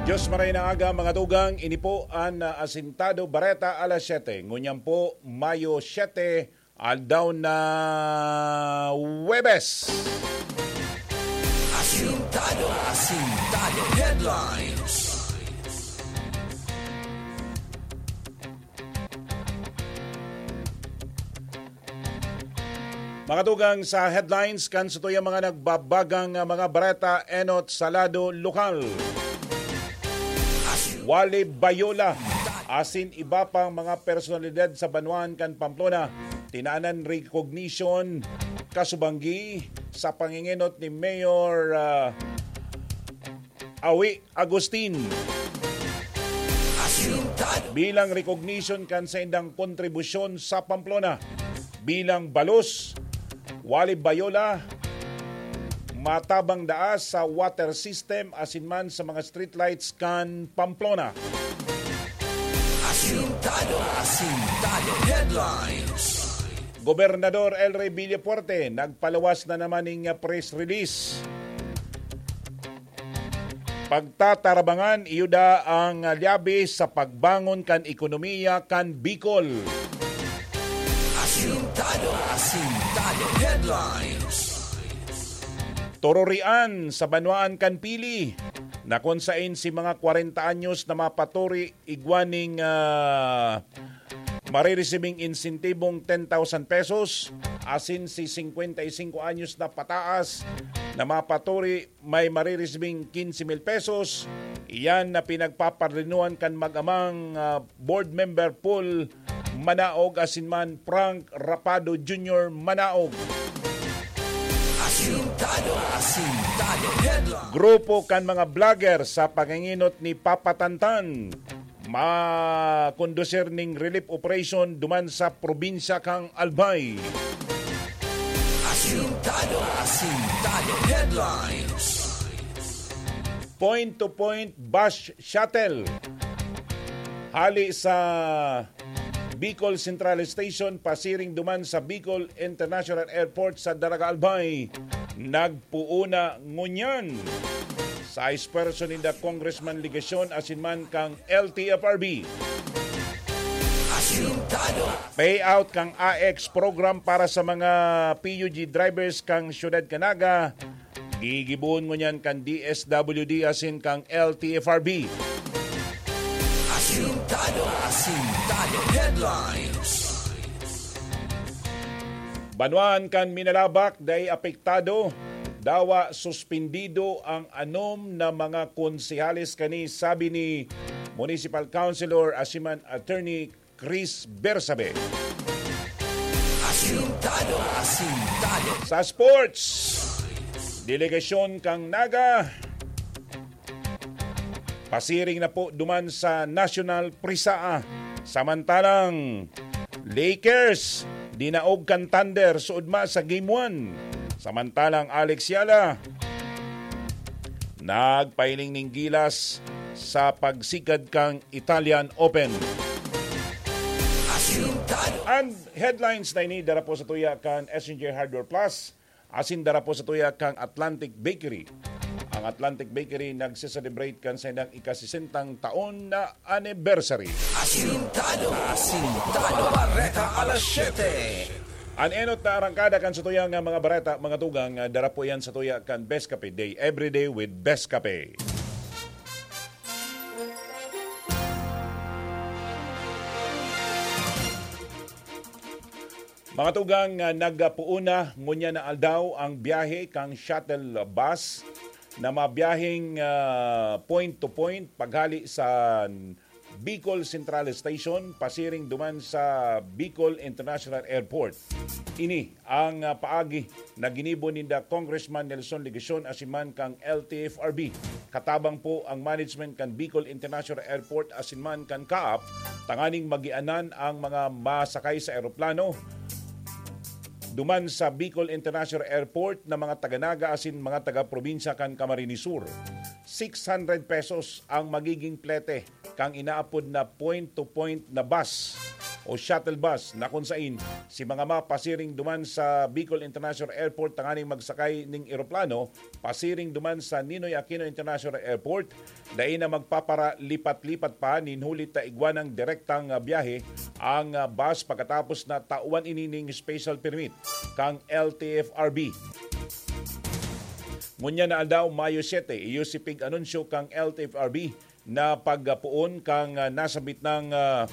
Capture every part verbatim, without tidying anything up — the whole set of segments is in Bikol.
Diyos maray na aga, mga tugang. Ini po an, ah, Asintado Bareta alas siyete. Ngunyan po, Mayo siyete, aldaw na Huwebes. Asintado, Asintado Headlines. Mga tugang sa headlines kan satuyang mga nagbabagang, ah, mga bareta enot sa lado lokal. Wali Bayola, asin iba pang mga personalidad sa banwaan kan Pamplona, tinanan recognition kasubanggi sa pangingenot ni Mayor, ah, Awi Agustin. Asintado. Bilang recognition kan saindang kontribusyon sa Pamplona. Bilang balos, Wali Bayola, matabang daa sa water system asin man sa mga streetlights kan Pamplona. Asintado, Asintado Headlines. Gobernador El Rey Villafuerte nagpaluwas na naman ning press release. Pagtatarabangan, iyo daa ang lyabe sa pagbangon kan ekonomiya kan Bicol. Asintado, Asintado Headlines. Tururian sa banwaan kan Pili, na kun sain si mga kwarenta anyos na mapaturi igwa ning, ah, mariresibing insentibong ten thousand pesos, asin si singkwenta y singko anyos na pataas na mapaturi may mariresibing quince mil pesos. Iyan na pinagpaparlinoan kan mag-amang, ah, board member Paul Manaog asin man Frank Rapado Junior Manaog. Asintado, Asintado Headline. Grupo kan mga vlogger sa pangingenot ni Papa Tantan makondusir ning relief operation duman sa probinsya kan Albay. Asintado, Asintado Headlines. Point-to-point bus shuttle hali sa Bicol Central Station pasiring duman sa Bicol International Airport sa Daraga Albay nagpuuna ngunyan. Sa espuwerso ninda Congressman Legacion asin man kan L T F R B. Asintado. Payout kan A X program para sa mga P U G drivers kan Siyudad kan Naga, gigibohon ngunyan kan D S W D asin kan L T F R B. Asintado, Asintado Headlines. Banwaan kan Minalabac dai apektado, dawa suspendido ang anom na mga konsehales kani, sabi ni Municipal Councilor asin man Attorney Chris Bersabe. Asintado, Asintado. Sa sports, delegasyon kan Naga pasiring na po duman sa National Prisaa. Samantalang Lakers, dinaog kan Thunder suodma sa Game one. Samantalang Alex Yala, nagpahiling ning gilas sa pagsigad kan Italian Open. Asintado. An headlines na ini dara po sa tuya kan S N J Hardware Plus. Asin dara po sa tuya kan Atlantic Bakery. Ang Atlantic Bakery nagse-celebrate kan saindang ikasisentang taon na anniversary. Asintado, Asintado. Bareta alas siyete. An enot na arangkada kan sa tuya nga mga bareta, mga tugang, ah, dara po yan sa tuya kan Best Cafe Day. Every day with Best Cafe. Mga tugang, ah, nagpuon na ngunyan na aldaw ang biyahe kan shuttle bus na mabiyaheng, ah, point to point paghali sa Bicol Central Station pasiring duman sa Bicol International Airport. Ini ang, ah, paagi na ginibo ninda Congressman Nelson Legacion asin man kan L T F R B. Katabang po ang management kan Bicol International Airport asin man kan CAAP tanganing magianan ang mga masakay sa eroplano duman sa Bicol International Airport na mga taga Naga asin mga taga-probinsya kan Camarines Sur. Six hundred pesos ang magiging plete kan inaapod na point-to-point na bus. o shuttle bus na kun sain si mga mapasiring duman sa Bicol International Airport tanganing magsakay ning eroplano pasiring duman sa Ninoy Aquino International Airport, dai na magpaparalipat-lipat pa nin huli ta igwa nang direktang, ah, biyahe ang, ah, bus pagkatapos na tawan ini ning special permit kan L T F R B. Ngunyan na aldaw, Mayo siyete, iyo si pig-anunsyo kan L T F R B na pagpoon kan, ah, nasabit nang, ah,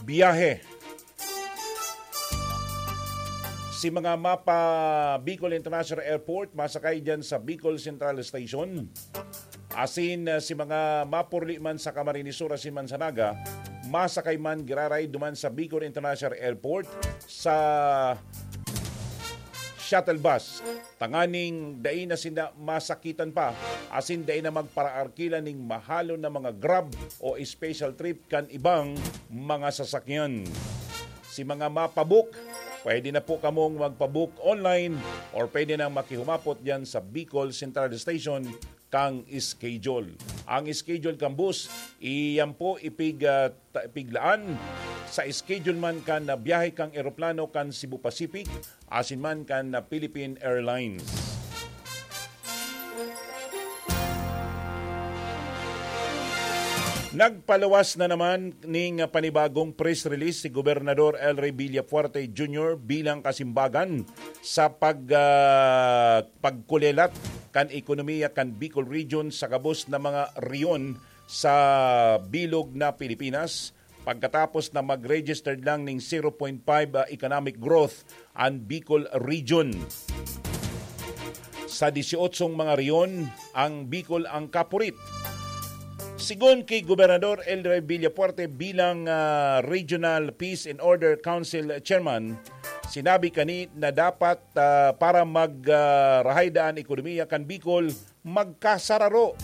biyahe. Si mga mapa Bicol International Airport, masakay dyan sa Bicol Central Station. Asin, ah, si mga mapurli man sa Camarines Sur asin man sa Naga, masakay man giraray duman sa Bicol International Airport sa shuttle bus. Tanganing dai na sinda masakitan pa, asin dai na magparaarkila ning mahalon na mga Grab o special trip kan ibang mga sasakyan. Si mga mapabook, pwede na po kamong magpabook online or pwede nang makihumapot diyan sa Bicol Central Station kang schedule. Ang schedule kan bus, iyan po ipig, ah, ta-, ipiglaan sa schedule man kan, ah, biyahe kang eroplano kan Cebu Pacific asin man kan, ah, Philippine Airlines. Nagpaluwas na naman ning panibagong press release si Gobernador El Rey Villafuerte Junior bilang kasimbagan sa pag, ah, pagkulelat kan ekonomiya kan Bicol Region sa gabos na mga rehiyon sa bilog na Pilipinas, pagkatapos na mag-registered lang ning zero point five, ah, economic growth an Bicol Region. Sa disyotso mga rehiyon, ang Bicol ang kapurit. Sigon ki Gobernador El Rey Villafuerte bilang, ah, Regional Peace and Order Council Chairman, sinabi kani na dapat, ah, para mag, ah, rahay daan ekonomiya kan Bicol, magkasararo.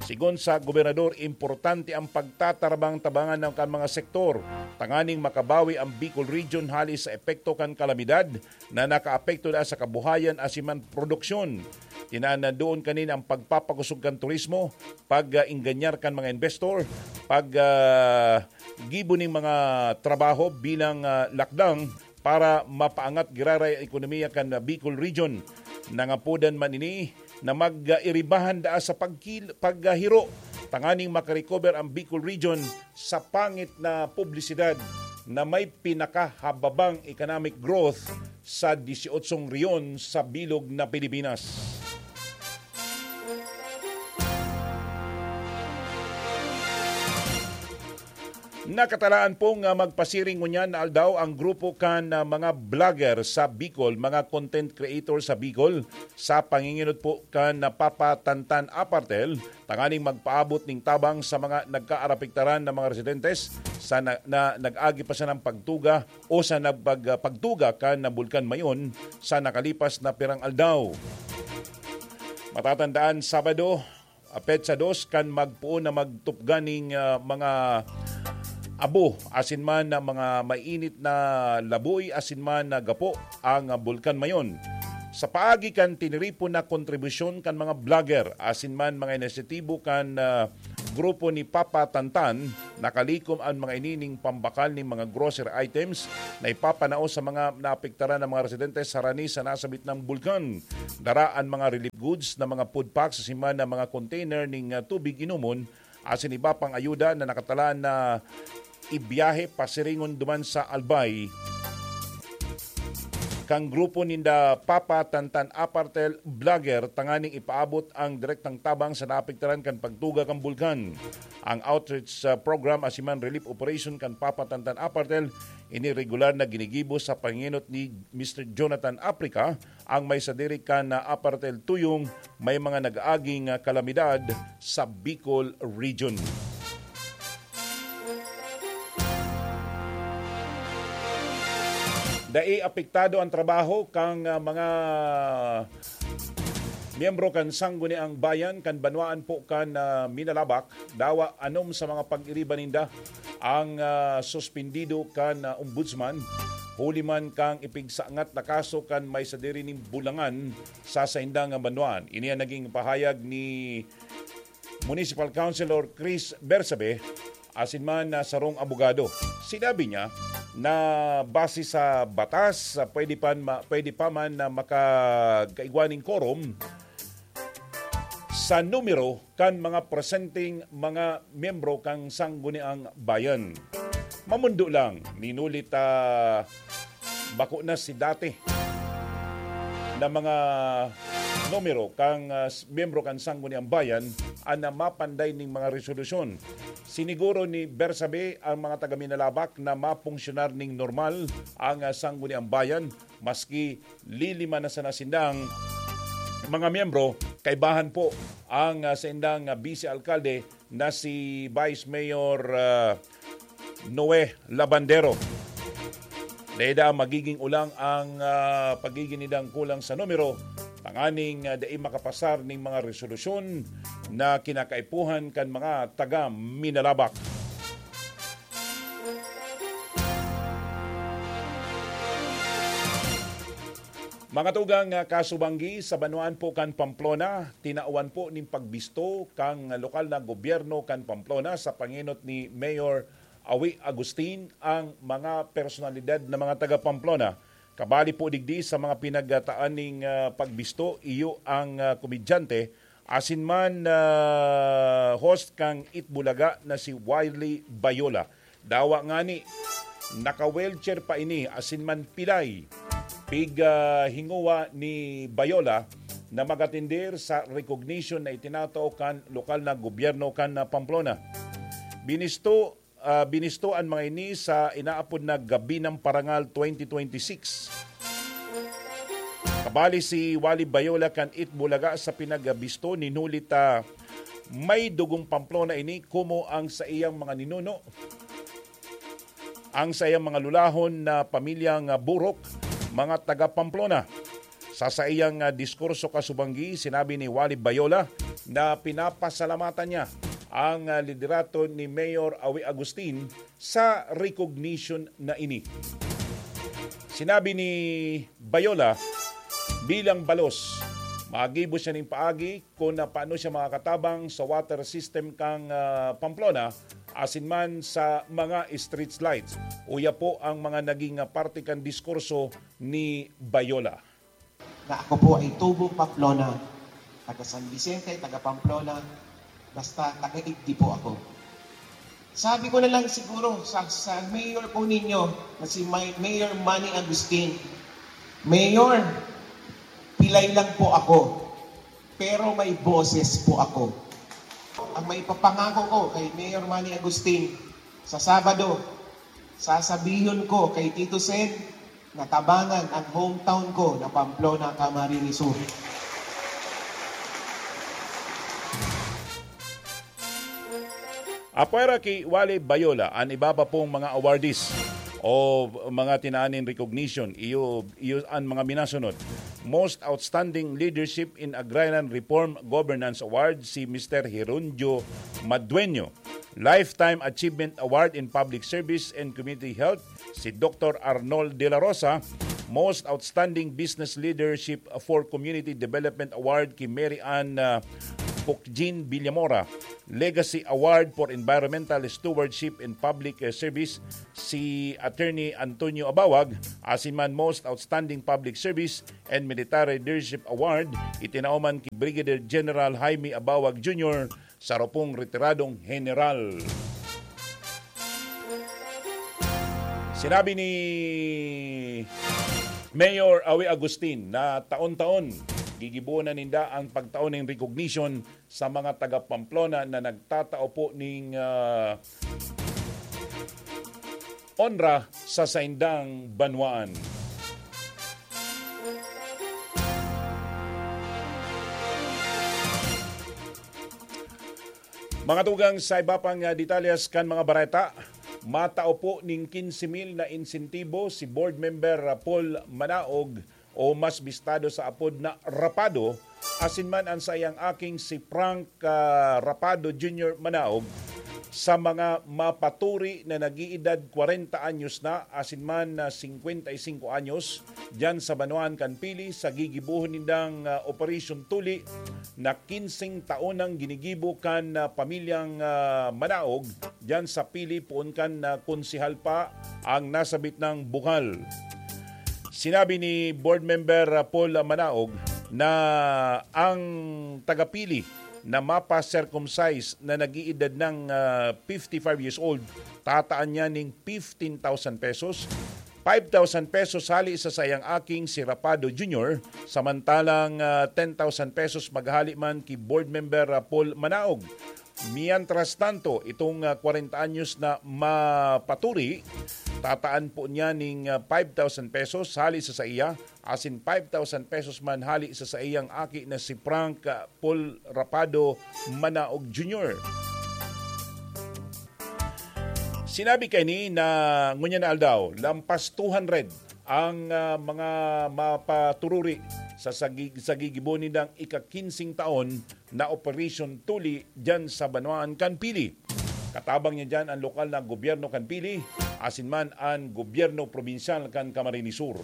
Sigon sa gobernador, importante ang pagtatarabang-tabangan ng kan mga sektor tanganing makabawi ang Bicol Region hali sa epekto kan kalamidad na nakaapekto na sa kabuhayan asin man produksyon. Tinaan na doon kanin ang pagpapakosog kan turismo, pag-ingganyar kan mga investor, pag, ah, gibo ning mga trabaho bilang, ah, lakdang para mapaangat giraray ang ekonomiya kan Bicol Region. Nangapodan man ini na mag-iribahan daa sa pagkil-, paghiro tanganing makarecover ang Bicol Region sa pangit na publisidad na may pinakahababang economic growth sa disyotso rehiyon sa bilog na Pilipinas. Nakatalaan pong, ah, magpasiring ngunyan na aldaw ang grupo kan, ah, mga vlogger sa Bicol, mga content creator sa Bicol, sa panginginot po kan, ah, Papa Tantan Apartel, tanganing magpaabot ning tabang sa mga nagkaarapektaran na mga residentes sa na, na nag-agi pa sanang pagtuga o sa nagpag-, ah, pagtuga kan na Bulkan Mayon sa nakalipas na pirang aldaw. Matatandaan, Sabado, ah, petsa dos kan magpoon na magtupgan ning, ah, mga abo asin man na mga mainit na laboy asin man na gapo ang, ah, Bulkan Mayon. Sa paagi kan tiniripon na kontribusyon kan mga vlogger asin man mga inisyatibo kan, ah, grupo ni Papa Tantan, nakalikom an mga ini ning pambakal ning mga grocery items na ipapanao sa mga naapektaran na mga residente sa rani sa nasabit na bulkan. Dara an mga relief goods na mga food packs asin man na mga container ning, ah, tubig inomon asin iba pang ayuda na nakatalaan na ibiyahe pasiringon duman sa Albay kan grupo ninda Papa Tantan Apartel Vlogger tanganing ipaabot ang direktang tabang sa naapektaran kan pagtuga kan bulkan. Ang outreach, ah, program asin man relief operation kan Papa Tantan Apartel ini regular na ginigibo sa panginot ni Mister Jonathan Aprica, ang may sadiri kan, ah, Apartel Tuyong may mga nag-aaging, ah, kalamidad sa Bicol Region. Dai apektado ang trabaho kan, ah, mga miyembro kan Sangguniang Bayan kan banwaan po kan, ah, Minalabac, dawa anom sa mga pag-iriba ninda ang, ah, suspendido kan, ah, ombudsman, huli man kan ipigsangat na kaso kan may sadiri ning bulangan sa saindang banwaan. Ini ang naging pahayag ni Municipal Councilor Chris Bersabe asin man na sarong abogado. Sinabi niya na base sa batas, ah, pwede pa ma-, pwede pa man na makagkaigwa ning quorum sa numero kan mga presenteng mga miyembro kan Sangguniang Bayan. Mamundo lang, ninulit, ah, bako na si dati na mga numero kan, ah, s-, miyembro kan Sangguniang Bayan an, ah, mapanday ning mga resolusyon. Siniguro ni Bersabe ang mga taga Minalabac na mapunsyonar ning normal ang, ah, Sangguniang Bayan, maski lilima na sana sindang mga miyembro. Kaibahan po ang, ah, saindang, ah, bise-alkalde na si Vice Mayor, ah, Noe Labandero. Dahil magiging ulang ang, ah, pagigin nidang kulang sa numero, tanganing, ah, dai makapasar ning mga resolusyon na kinakaipuhan kan mga taga Minalabac. Mga tugang, ah, kasubanggi, sa banwaan po kan Pamplona, tinawan po nin pagbisto kan lokal na gobyerno kan Pamplona sa pangenot ni Mayor Awi Agustin ang mga personalidad na mga taga Pamplona. Kabali po digdi sa mga pinagtaan ning, ah, pagbisto, iyo ang, ah, komedyante asin man, ah, host kan Eat Bulaga na si Wiley Bayola. Dawa ngani, naka-wheelchair pa ini asin man pilay. Pig, ah, hingowa ni Bayola na mag-atender sa recognition na itinatao kan lokal na gobyerno kan, ah, Pamplona. Binisto, ah, binisto an mga ini sa inaapod na Gabi ng Parangal twenty twenty-six. Kabali si Wally Bayola kan Eat Bulaga sa pinagbisto nin huli ta may dugong Pamplona ini, komo ang saiyang mga ninuno, ang saiyang mga lulahon na pamilyang, ah, Burok, mga taga Pamplona. Sa saiyang, ah, diskurso kasubanggi, sinabi ni Wally Bayola na pinapasalamatan niya ang, ah, liderato ni Mayor Awi Agustin sa recognition na ini. Sinabi ni Bayola, bilang balos, magibo siya nin paagi kun paano siya makakatabang sa water system kan, ah, Pamplona asin man sa mga street lights. Uya po ang mga naging, ah, parte kan diskurso ni Bayola. Na ako po ay tubong Pamplona, taga San Vicente, taga Pamplona, basta taga-igdi po ako. Sabi ko na lang siguro sa, sa mayor po ninyo na si May-, Mayor Manny Agustin, "Mayor, pilay lang po ako, pero may boses po ako." Ang maipapangako ko kay Mayor Manny Agustin, sa Sabado, sasabihon ko kay Tito Sen na tabangan ang hometown ko na Pamplona, Camarines Sur. Apwera ki Wally Bayola, an iba pa pong mga awardees o mga tinaaning recognition, iyo, iyo an mga minasunod. Most Outstanding Leadership in Agrarian Reform Governance Award, si Mister Herundio Madueño. Lifetime Achievement Award in Public Service and Community Health, si Doctor Arnold De La Rosa. Most Outstanding Business Leadership for Community Development Award ki Mary Ann, ah, Pukjin Villamora. Legacy Award for Environmental Stewardship and Public, eh, Service, si Attorney Antonio Abawag, asin man Most Outstanding Public Service and Military Leadership Award, itinao man ki Brigadier General Jaime Abawag Junior, saro pong retiradong heneral. Sinabi ni Mayor Awi Agustin na taon-taon gigibohon na ninda ang pagtao ning recognition sa mga taga Pamplona na nagtatao po ning, ah, onra sa saindang banwaan. Mga tugang, sa iba pang, ah, detalyes kan mga bareta, matao po ning quince mil na insentibo si Board Member, ah, Paul Manaog, o mas bistado sa apod na Rapado, asin man an saiyang aking si Frank, ah, Rapado Junior Manaog, sa mga mapaturi na nag-iidad kwarenta anyos na asin man na singkwenta y singko anyos diyan sa banwaan kan Pili sa gigibohon nindang, ah, operasyon tuli na kinseng taon nang ginigibo kan, ah, pamilyang, ah, Manaog diyan sa Pili poon kan, ah, konsehal pa ang nasabit nang buhal. Sinabi ni Board Member, ah, Paul Manaog na ang taga-Pili na mapa-circumcise na nag-iidad ng, ah, fifty-five years old, tataan niya ning fifteen thousand pesos, five thousand pesos hali sa saiyang aking si Rapado Junior, samantalang, ah, ten thousand pesos maghali man ki Board Member, ah, Paul Manaog. Mientras tanto, itong, ah, kwarenta anyos na mapaturi, tataan po niya ning, ah, five thousand pesos hali sa saiya, asin five thousand pesos man hali sa saiyang aki na si Frank, ah, Paul Rapado Manaog Junior. Sinabi kaini na ngunyan na aldaw, lampas two hundred ang, ah, mga mapatururi sa sagi-, sa gigibo nindang ika-kinseng taon na operasyon tuli diyan sa banwaan kan Pili. Katabang niya diyan ang lokal na gobyerno kan Pili, asin man an gobyerno probinsyal kan Camarines Sur.